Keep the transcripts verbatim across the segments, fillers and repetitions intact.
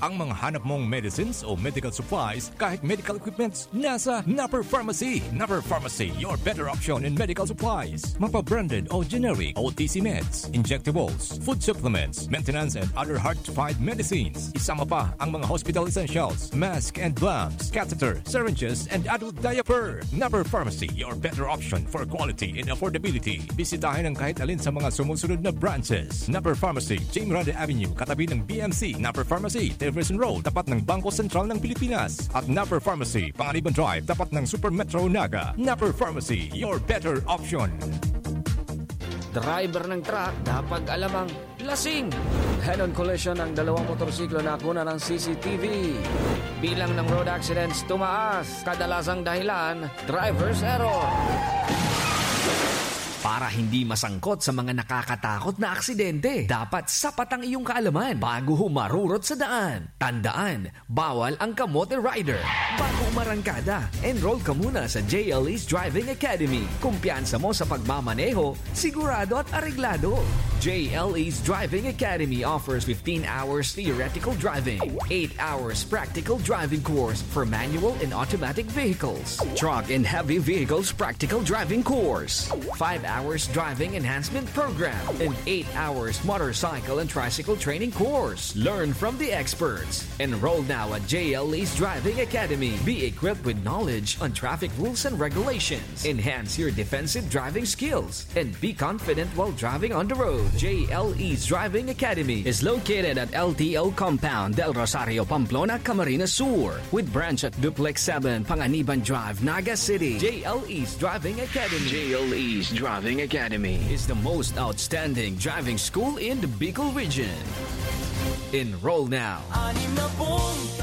Ang mga hanap mong medicines o medical supplies, kahit medical equipments, nasa Napper Pharmacy. Napper Pharmacy, your better option in medical supplies. Mapa-branded o generic, O T C meds, injectables, food supplements, maintenance and other hard-to-find medicines. Isama pa ang mga hospital essentials, mask and gloves, catheter, syringes, and adult diaper. Napper Pharmacy, your better option for quality and affordability. Bisitahin ang kahit alin sa mga sumusunod na branches. Napper Pharmacy, James Rada Avenue, katabi ng B M C. Napper Pharmacy, Jefferson Road, tapat ng Bangko Sentral ng Pilipinas. At Napper Pharmacy, Panganiban Drive, tapat ng Super Metro Naga. Napper Pharmacy, your better option. Driver ng truck, dapat alam ang lasing. Head-on collision ng dalawang motorsiklo na kuna ng C C T V. Bilang ng road accidents tumaas, kadalasang dahilan, driver's error. Para hindi masangkot sa mga nakakatakot na aksidente, dapat sapat ang iyong kaalaman bago humarurot sa daan. Tandaan, bawal ang kamote rider. Bago umarangkada, enroll ka muna sa J L E's Driving Academy. Kumpiyansa mo sa pagmamaneho, sigurado at areglado. J L E's Driving Academy offers fifteen hours theoretical driving, eight hours practical driving course for manual and automatic vehicles, truck and heavy vehicles practical driving course, five hours driving enhancement program, and eight hours motorcycle and tricycle training course. Learn from the experts. Enroll now at J L E's Driving Academy. Be equipped with knowledge on traffic rules and regulations. Enhance your defensive driving skills and be confident while driving on the road. J L E's Driving Academy is located at L T O Compound, Del Rosario, Pamplona, Camarines Sur, with branch at Duplex seven, Panganiban Drive, Naga City. J L E's Driving Academy. J L E's Driving Academy is the most outstanding driving school in the Bicol region. Enroll now.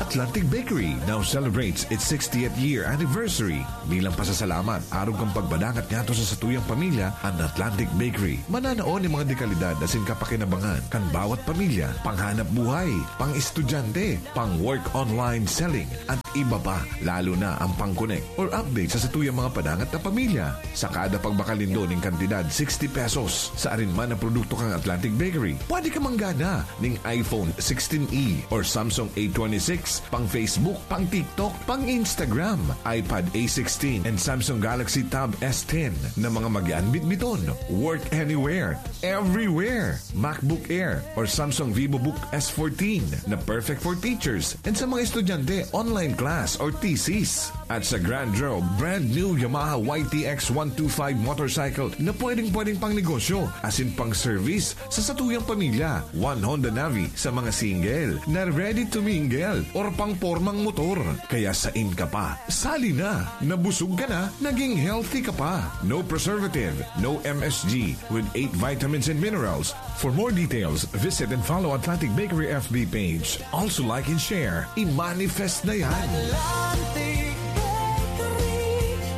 Atlantic Bakery now celebrates its sixtieth year anniversary. Bilang pasasalamat, arog kan pagpadangat ngadto sa satuyang pamilya, an Atlantic Bakery mananao nin mga dekalidad asin kapakinabangan kan bawat pamilya, panghanap buhay, pang-estudyante, pang-work online selling, at iba pa, lalo na ang pang-connect or update sa satuyang mga padangat na pamilya. Sa kada pagbakalindol nin kantidad sixty pesos sa arin man na produkto kan Atlantic Bakery, pwede ka manggana nin iPhone sixteen E or Samsung A twenty-six, pang-Facebook, pang-TikTok, pang-Instagram, iPad A sixteen, and Samsung Galaxy Tab S ten na mga magian bitbiton. Work anywhere, everywhere. MacBook Air or Samsung VivoBook S fourteen na perfect for teachers and sa mga estudyante, online class or thesis. At sa Grand Road, brand new Yamaha Y T X one two five motorcycle na pwedeng-pwedeng pang negosyo asin pang service sa satuyang pamilya. One Honda Navi sa mga single na ready to mingle or pang pormang motor. Kaya sain ka pa? Sali na! Nabusog ka na, naging healthy ka pa. No preservative, no M S G, with eight vitamins and minerals. For more details, visit and follow Atlantic Bakery F B page. Also like and share. I-manifest na yan! Atlantic Bakery,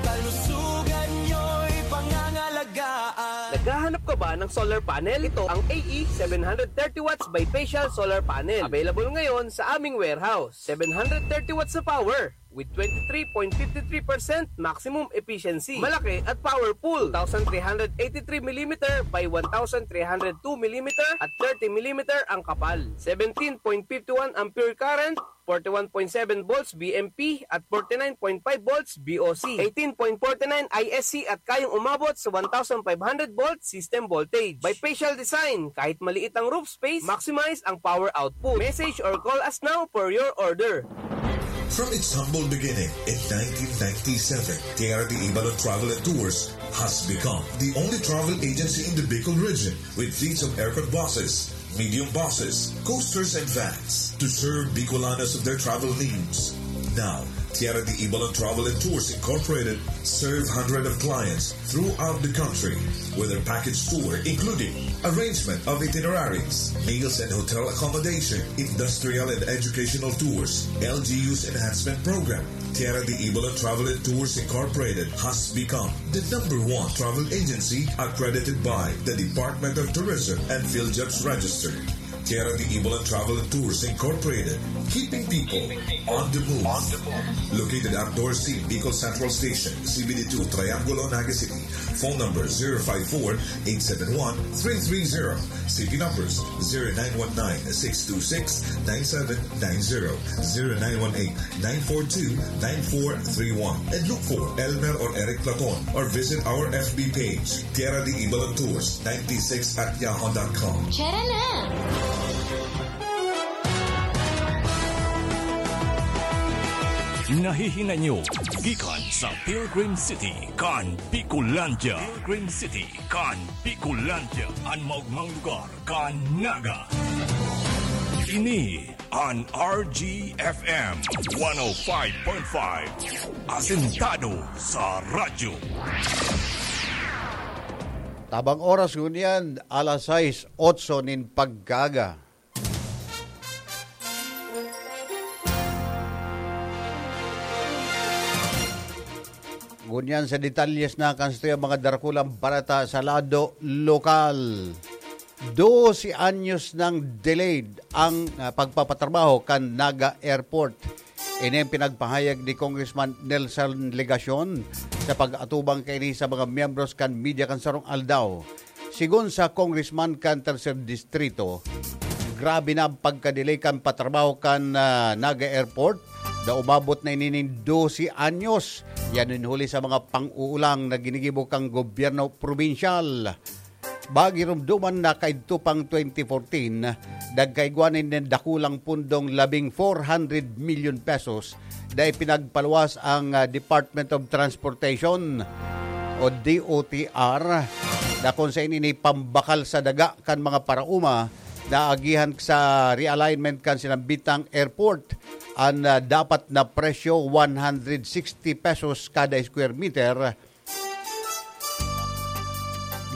kalusugan nyo'y pangangalagaan. Naghahanap ka ba ng solar panel? Ito ang A E seven hundred thirty watts bifacial solar panel. Available ngayon sa aming warehouse. Seven hundred thirty watts na power with twenty-three point five three percent maximum efficiency. Malaki at powerful. Two thousand three hundred eighty-three millimeter by one thousand three hundred two millimeter at thirty millimeter ang kapal. Seventeen point five one ampere current, forty-one point seven volts V M P at forty-nine point five volts V O C, eighteen point forty-nine I S C at kayang umabot sa one thousand five hundred volt system voltage. Bifacial design, kahit maliit ang roof space, maximize ang power output. Message or call us now for your order. From its humble beginning in nineteen ninety-seven, Tierra de Ibalon Travel and Tours has become the only travel agency in the Bicol region with fleets of aircon buses, medium buses, coasters, and vans to serve Bicolanos of their travel needs. Now, Tierra de Ibalon Travel and Tours Incorporated serve hundreds of clients throughout the country with their package tour, including arrangement of itineraries, meals and hotel accommodation, industrial and educational tours, L G U's enhancement program. Tierra de Ibalon Travel and Tours Incorporated has become the number one travel agency accredited by the Department of Tourism and PhilJobs Register. Kera de Ibolan Travel and Tours Incorporated, keeping people on the move. Located at Dorsey, Bicol Central Station, C B D two, Triangulo, Naga City. Phone number zero five four, eight seven one, three three zero. C P numbers zero nine one nine, six two six, nine seven nine zero, zero nine one eight, nine four two, nine four three one. And look for Elmer or Eric Platon or visit our F B page, Kera de Ibolan Tours ninety-six at yahoo dot com. Tara na! Nahihinay nyo gikan sa Pilgrim City kan Bicolandia. Pilgrim City kan Bicolandia, an maogmang lugar kan Naga. Ini an R G F M one oh five point five, asentado sa radyo. Tabang oras ngunyan, alas sais otso nin pagkaaga. Ngunyan sa detalyes na kan satuyang mga darakulang bareta sa lado lokal. Dose anyos nang delayed ang, ah, pagpapatrabaho kan Naga Airport. Ini ang pinagpahayag ni Congressman Nelson Legacion sa pag-atubang kaini sa mga miyembros kan media kan sarong aldaw. Sigon sa congressman kan Tercer Distrito, grabe na ang pagka-delay kan patrabaho kan, ah, Naga Airport na umabot na ini nin dose anyos. Yan nin huli sa mga pang-uulang na ginigibo kan gobyerno probinsyal. Bagirumduman na kaidto pang twenty fourteen, nagkaigwa nin dakulang pundong labing four hundred million pesos na ipinagpaluwas ang, ah, Department of Transportation o D O T R, na kung sa ini pambakal sa daga kan mga paraoma na agihan sa realignment kan sinambitang airport. An, ah, dapat na presyo, one hundred sixty pesos kada square meter,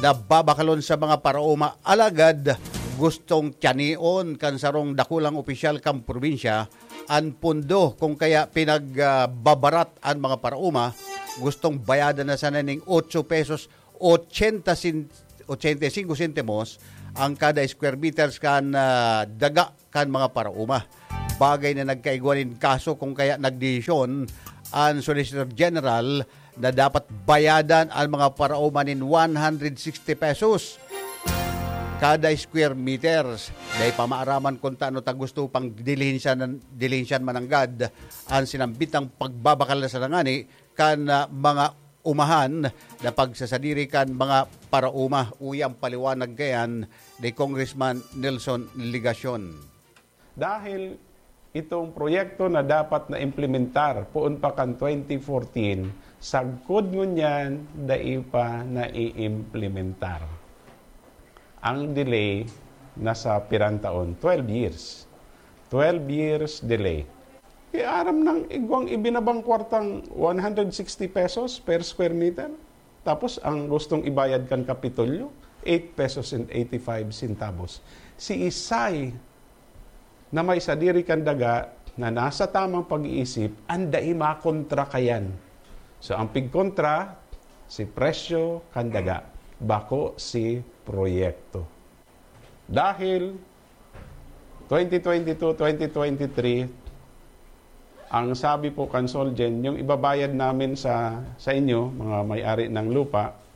na babakalon sa mga paraoma. Alagad gustong tiyanion kan sarong dakulang opisyal kan probinsya an pondo, kung kaya pinagbabarat an mga paraoma. Gustong bayadan na sana ning otso pesos ochenta sin-, ochenta y cinco sentimos ang kada square meters kan, ah, daga kan mga paraoma. Bagay na nagkaigwa nin kaso, kung kaya nagdesisyon an Solicitor General na dapat bayadan an mga paraoma nin one hundred sixty pesos kada square meters. Dai pa maaraman kun tano ta gusto pang dilihensyan, dilihensyan mananggad an sinambitang pagbabakal na sana ngani kan, ah, mga umahan na pagsasadiri kan mga paraoma. Uya ang paliwanag kayan ni Congressman Nelson Legacion. Dahil itong proyekto na dapat na implementar poon pa kan twenty fourteen, sagkod ngunyan dai pa naiimplementar. Ang delay nasa pirang taon, twelve years. Twelve years delay. E, aram nang igwang ibinabang kwartang one hundred sixty pesos per square meter. Tapos ang gustong ibayad kan Kapitolyo, eight pesos and eighty-five centavos. Si Isay na may sadiri kan daga na nasa tamang pag-iisip, an dai makontra kayan. So, ang pigkontra, si presyo kan daga, bako si proyekto. Dahil twenty twenty-two, twenty twenty-three, ang sabi po kan Solgen, yung ibabayad namin sa, sa inyo, mga may-ari ng lupa,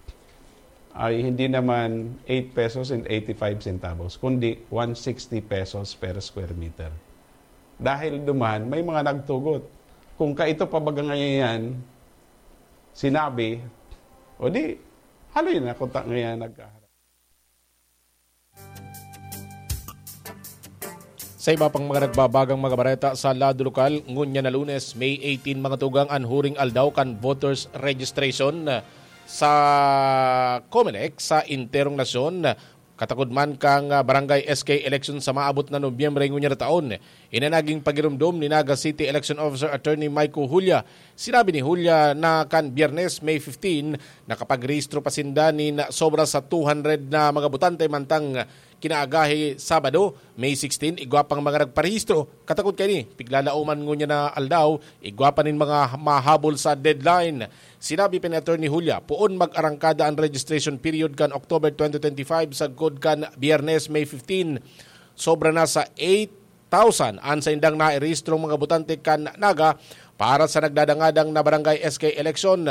ay hindi naman eight pesos and eighty-five centavos, kundi one sixty pesos per square meter. Dahil duman, may mga nagtugot. Kung kaito pa baga ngayon yan, sinabi, o di, haloy na kung ta ngayon nagkaharap. Sa iba pang mga nagbabagang mga bareta sa lado lokal, ngunyan na Lunes, May eighteen, mga tugang an huring aldaw kan voters registration sa Comelec sa enterong nasyon. Katakod man kan, ah, barangay S K election sa maabot na Nobyembre ngunyan na taon. Ini naging pagiromdom ni Naga City Election Officer Attorney Micah Julia. Sinabi ni Julia na kan Biyernes, May fifteen, nakapagrehistro pa sinda nin sobra sa two hundred na mga botante, mantang kinaagahi, Sabado, May sixteen, igwa pang mga nagparehistro. Katakod kaini, piglalauman ngunyan na aldaw, igwa pa nin mga mahabol sa deadline. Sinabi pa ni Attorney Julia, poon mag-arangkada an registration period kan October twenty twenty-five sagkod kan Biyernes, May fifteen. sobra na sa eight thousand an saindang nairehistrong mga botante kan Naga para sa nagdadangadang na barangay S K eleksyon.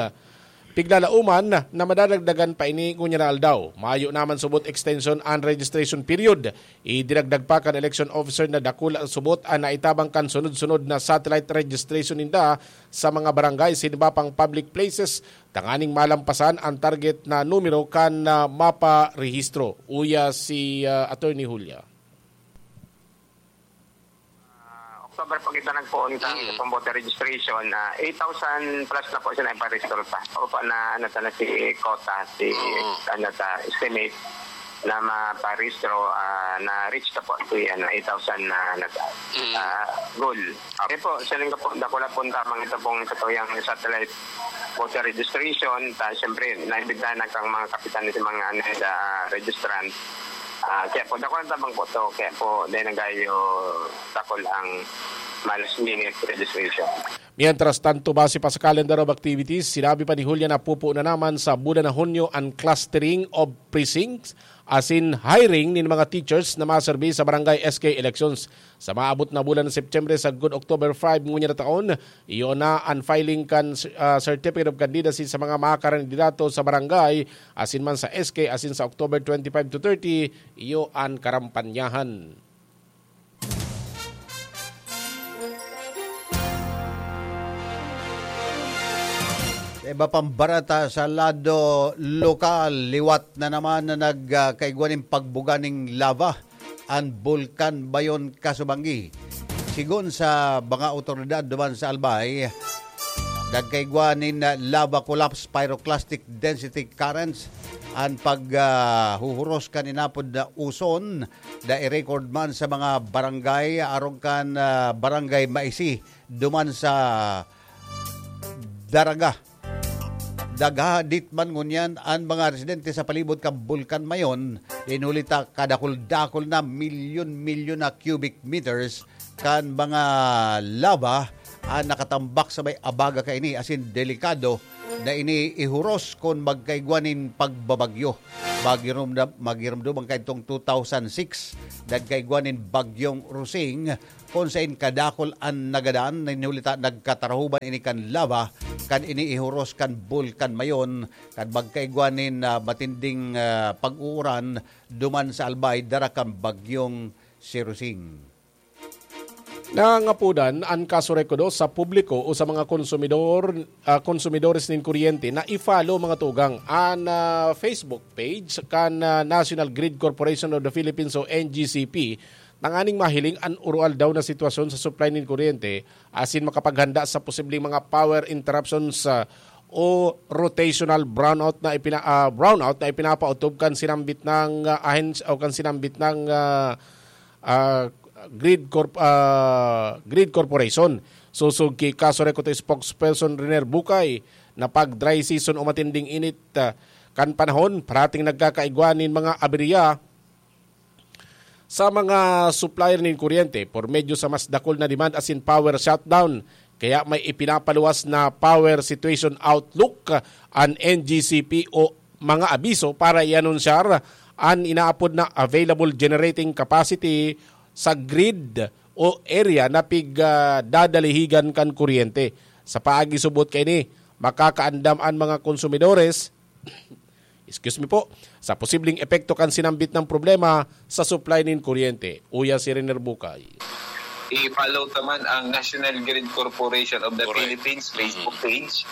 Piglalauman na madadagdagan pa ini ngunyan na aldaw. Mayo naman subot extension an registration period. Idinagdag pa kan election officer na dakula subot an naitabang kan sunod-sunod na satellite registration ninda sa mga barangay sa iba pang public places tanganing malampasan ang target na numero kan, ah, mapa rehistro. Uya si, ah, Attorney Julia. Ah, October pa kita nagpoon kan Mm. itong voter registration, ah, eight thousand plus na po siya naiparehistro ta. O pa na, ano ta na si quota, si, Mm. ano ta, estimate na maparehistro, ah, na reach ta po si, ano, eight thousand na, ano ta, Mm. ah, goal. Okay po, siling ko po, dakula po tamang ito pong sa tuyang satellite voter registration. Ta, siyempre, naimbitahan na kang mga kapitan ni mga, ano, sa registrant. Ah, kaya po, dakula tabang po to. Kaya po, dahil nagayo takol ang malas minute registration. Mientras tanto, base pa sa calendar of activities, sinabi pa ni Julia na pupuo na naman sa bulan na Hunyo ang clustering of precincts, asin hiring nin mga teachers na maserbi sa barangay S K elections. Sa maabot na bulan ng Setyembre sagkod October five ngunyan na taon, iyo na an filing kan, ah, Certificate of Candidacy sa mga makakandidato sa barangay, asin man sa S K, asin sa October twenty-five to thirty, iyo an karampanyahan. Sa iba pang barata sa lado lokal, liwat na naman na nag, ah, kaigwa nin pagbuga ning lava an Bulkan Mayon, Casubangui. Sigon sa mga awtoridad duman sa Albay, nagkaigwa nin, ah, lava collapse, pyroclastic density currents, an pag, ah, huhuros kan inapod na uson na i-record man sa mga barangay, arog kan, ah, Barangay Maisi, duman sa Daraga. Daghadit man ngunyan an mga residente sa palibot kan Bulkan Mayon, dinuli ta kadakul-dakul na milyon-milyon na cubic meters kan mga lava an nakatambak sa may abaga kaini, asin delikado na ini ihuros kun magkaigwa nin pagbabagyo. Magirumdam, magirumdom ang kaidtong two thousand six, nagkaigwa nin Bagyong Rosing, kun sain kadakul an nagadan, hinuli ta nagkatarahuban ini kan lava, kan ini ihuros kan Bulkan Mayon, kan magkaigwa nin, ah, matinding, ah, pag-uuran duman sa Albay, dara kan Bagyong Sirusing. Nangangapodan an Casureco dos sa publiko o sa mga konsumidor, ah, konsumidores nin kuryente na i-follow, mga tugang, an, ah, Facebook page kan, ah, National Grid Corporation of the Philippines o N G C P, tanganing mahiling an oroaldaw na sitwasyon sa supply nin kuryente asin makapaghanda sa posibleng mga power interruptions, ah, o rotational brownout na ipina-, ah, brownout na ipinapautob kan sinambit ng, ah, ahens-, o kan sinambit ng, ah, ah, Grid Corp-, ah, Grid Corporation. Sosog ki Casureco to spokesperson Riner Bukay na pag dry season o matinding init, ah, kan panahon, parating nagkakaigwa nin mga aberya sa mga supplier nin kuryente por medyo sa mas dakul na demand asin power shutdown. Kaya may ipinapaluwas na power situation outlook an N G C P o mga abiso para i-anunsyar an inaapod na available generating capacity sa grid o area na pig, ah, dadalihigan kan kuryente. Sa paagi subot kaini, makakaandam an mga konsumidores, excuse me po, sa posibleng epekto kan sinambit na problema sa supply nin kuryente. Uya si Riner Bukay. I-follow ta man ang National Grid Corporation of the Correct. Philippines Facebook Mm. page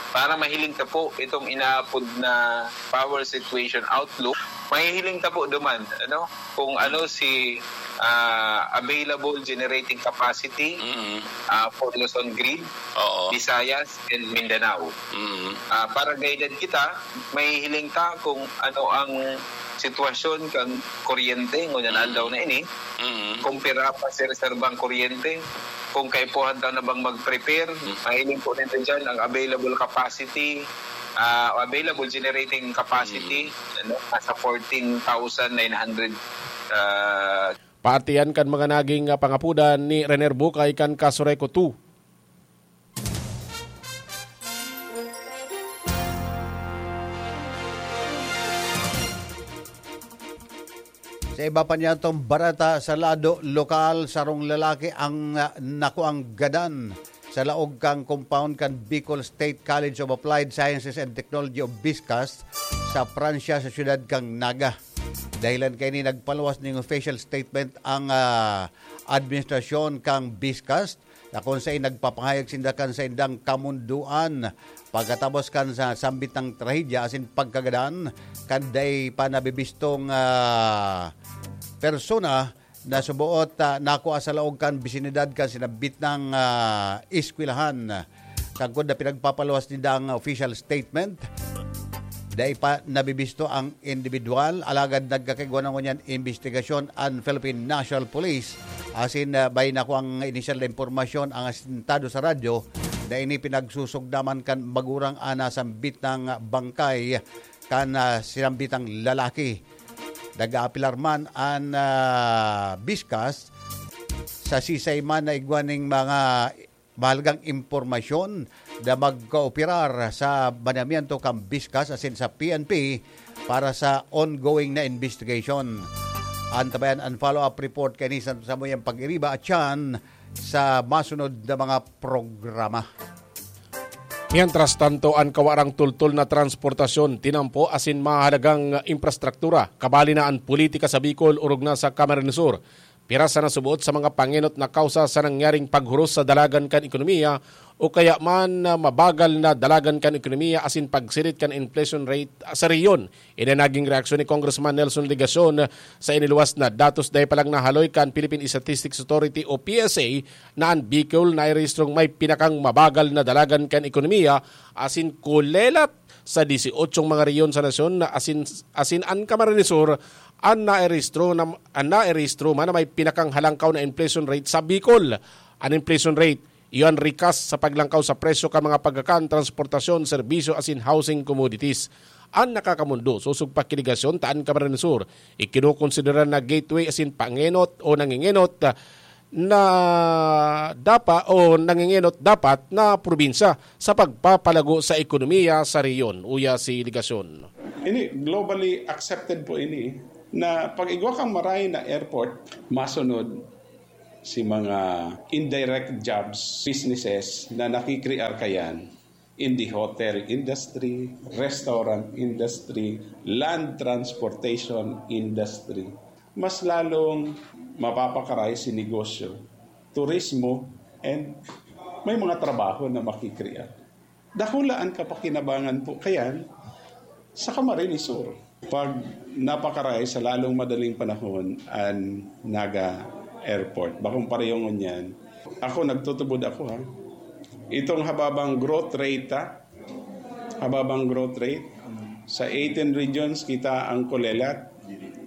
para mahiling ta po itong inaapod na power situation outlook. Mahihiling ta po duman, ano, kung ano si, ah, available generating capacity, Mm. ah, for Luzon Grid, Oo. Visayas, and Mindanao. Mm. Ah, para guided kita, mahihiling ta kung ano ang sitwasyon kan kuryente ngunyan Mm. aldaw na ini, Mm. kung pira pa si reserbang kuryente, kung kaipuhan ta na bang mag-prepare, Mm. mahiling po nito dyan ang available capacity, ah, available generating capacity, Mm. ano, nasa fourteen thousand nine hundred, ah, Paatian kan mga naging, ah, pangapodan ni Riner Bukay kan Casureco two. Sa iba pa niyatong bareta, sa lado lokal, sarong lalaki ang, ah, nakuang gadan sa laog kan compound kan Bicol State College of Applied Sciences and Technology o BISCAST sa Pransya, sa siyudad kan Naga. Dahilan kaini, nagpaluwas ning official statement ang, ah, administrasyon kan BISCAST, na kun saen nagpapahayag sinda kan saindang kamundoan pagkatapos kan sa sambit na trahedya asin pagkagadan kan dai pa nabibistong, ah, persona na suboot, ah, nakua sa laog kan bisinidad kan sinambit na, ah, eskwelahan. Sagkod na pinagpapaluwas ninda ang official statement, dai pa nabibisto ang individual, alagad nagkakaigwa na ngunyan imbestigasyon an Philippine National Police. Asin, ah, may nakuang inisyal na impormasyon ang asintado sa radyo na ini pinagsusugdaman kan magurang an nasambit na bangkay kan, ah, sinambitang lalaki. Nag-aapelar man an, ah, BISCAST sa sisay man na igwa ning mga mahalagang impormasyon na magkooperar sa mandamiento kan BISCAST asin sa P N P para sa ongoing na investigation. Antabayan an follow-up report kaini sa samuyang pag-iriba at tiyan sa masunod na mga programa. Mientras tanto, an kawarang tultol na transportasyon, tinampo asin mahalagang infrastruktura, kabali na an politika sa Bicol orog na sa Camarines Sur. Pira sana suboot sa mga pangenot na kausa sa nangyaring paghuros sa dalagan kan ekonomiya o kaya man na mabagal na dalagan kan ekonomiya asin pagsirit kan inflation rate sa rehiyon. Ini naging reaksyon ni Congressman Nelson Legacion sa iniluwas na datos. Dai pa lang nahaloy kan Philippine Statistics Authority o P S A na an Bicol nairehistrong may pinakang mabagal na dalagan kan ekonomiya asin kulelat sa dieciocho mga rehiyon sa nasyon na asin, asin an Camarines Sur an nairehistro na, an nairehistro man na may pinakang halangkaw na inflation rate sa Bicol. An inflation rate, iyo an rikas sa paglangkaw sa presyo kan mga pagkakan, transportasyon, serbisyo asin housing commodities. An nakakamondo, sosog pa ki Legacion ta an Camarines Sur, ikinokonsidera na gateway asin pangenot o nangengenot na dapa o nangengenot dapat na probinsya sa pagpapalago sa ekonomiya sa rehiyon, uya si Legacion. Ini, globally accepted po ini, na pag igwa kang maray na airport, masunod si mga indirect jobs, businesses na nakikrear kayan in the hotel industry, restaurant industry, land transportation industry. Mas lalong mapapakaray si negosyo, turismo, and may mga trabaho na makikrear. Dakula an kapakinabangan po kayan sa Camarines Sur. Pag napakaray sa lalong madaling panahon an Naga Airport, bakong pareho ngunyan. Ako, nagtutubod ako, ha. Itong hababang growth rate, ha? Hababang growth rate. Sa eighteen regions, kita ang kulelat,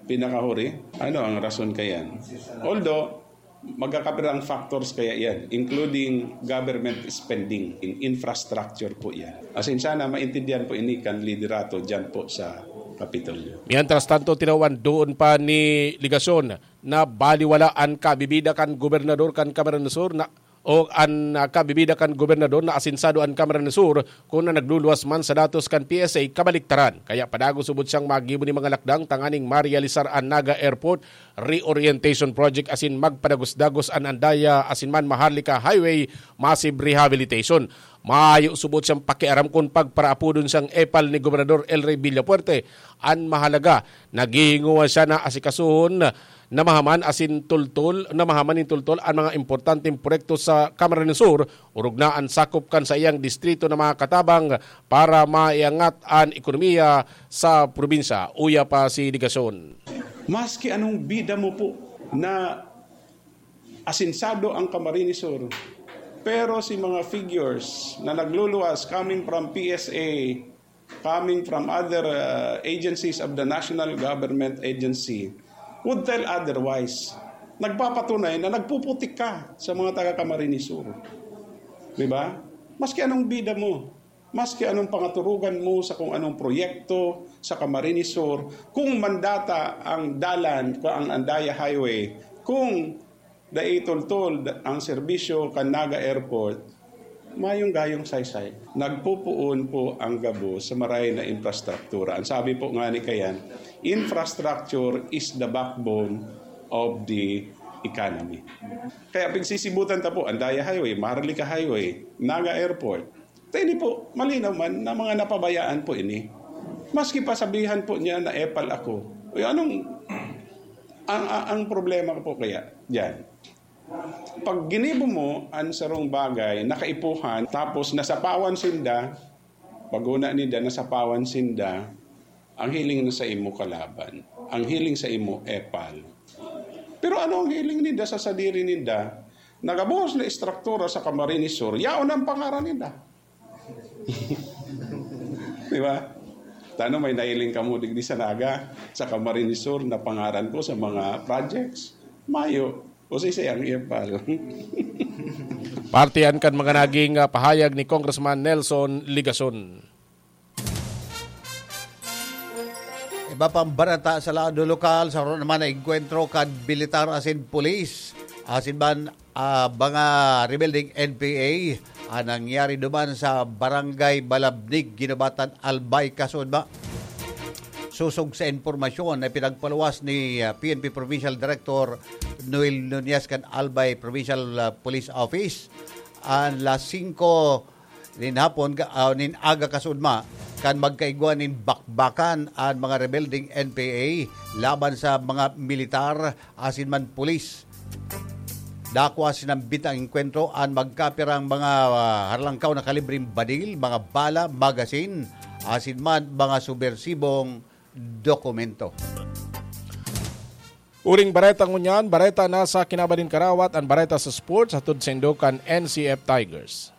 pinakahuri. Ano ang rason kayan? Although, magkakapirang factors kaya yan, including government spending in infrastructure po yan. As in, sana maintindihan po ini kan liderato dyan po sa Kapitolyo. Mientras tanto, tinawan doon pa ni Legacion na baliwala an kabibida kan gobernador kan Camarines Sur na, o an, ah, kabibida kan gobernador na asinsado an Camarines Sur, kun na nagluluwas man sa datos kan P S A kabaliktaran. Kaya padagos subot siyang maggibo nin mga lakdang tanganing marealisar an Naga Airport Reorientation Project asin magpadagos-dagos an Andaya asin man Maharlika Highway Massive Rehabilitation. Mayo subot siyang pakiaram kun pagparaapodon siyang epal ni Gobernador El Rey Villafuerte. An mahalaga, naghihingowa siya na asikasuhon na mahaman asin tultol, na mahaman nin tultol an mga importanteng proyekto sa Camarines Sur, orog na an sakop kan saiyang distrito na makatabang para maiangat an ekonomiya sa probinsya. Uya pa si Legacion. Maski anong bida mo po na asinsado ang Camarines Sur, pero si mga figures na nagluluwas coming from P S A, coming from other, uh, agencies of the national government agency, would tell otherwise. Nagpapatunay na nagpuputik ka sa mga taga Camarines Sur. Di ba? Maski anong bida mo, maski anong pangaturugan mo sa kung anong proyekto sa Camarines Sur, kung mandata ang dalan, kung ang Andaya Highway, kung dai tultol ang serbisyo kan Naga Airport, Mayong gayong saysay, nagpupuon po ang gabos sa maray na infrastruktura. Ang sabi po nga ni Kayan, "Infrastructure is the backbone of the economy." Kaya pigsisibutan ta po, Andaya Highway, Maharlika Highway, Naga Airport. Tayo po, malinaw man na mga napabayaan po ini. Maski pa sabihan po niya na epal ako. Uy, anong, ang, ang, ang problema ko po kaya dyan? Pag ginibo mo ang sarong bagay, nakaipuhan, tapos nasapawan sinda, paguna ninda, nasapawan sinda, ang hiling na sa imo kalaban, ang hiling sa imo epal. Pero ano ang hiling ninda sa sadiri ninda? Nagabuhos na estruktura sa Camarines Sur, yaon ang pangaran ninda. Di ba? Tano may nahiling kamo digdi sa Naga, sa Camarines Sur na pangaran ko sa mga projects. Mayo. O si Siyang Ipal. Parte yan kan mga naging ah, pahayag ni Congressman Nelson Ligason. Iba pang barata sa lado lokal, sa ron naman na engkwentro kan militar asin pulis. Asin man ah, mga rebelding N P A ang nangyari duman sa Barangay Balabnig, Ginobatan, Albay, Kasudma. Sosog sa impormasyon na pinagpaluwas ni ah, P N P Provincial Director Noel Nunez kan Albay Provincial ah, Police Office, ang las singko nin hapon, ga- ah, nin aga kasudma, kan magkaigwa nin bakbakan an mga rebelding N P A laban sa mga militar asin man pulis. Dakwa sinambit ang engkwentro an magkapirang mga ah, harlangkaw na kalibreng badil, mga bala, magasin, asin man mga subbersibong dokumento. Uring bareta ngunyan, bareta na sa kinaban nin karawat, ang bareta sa sports, hatod sa indo kan N C F Tigers.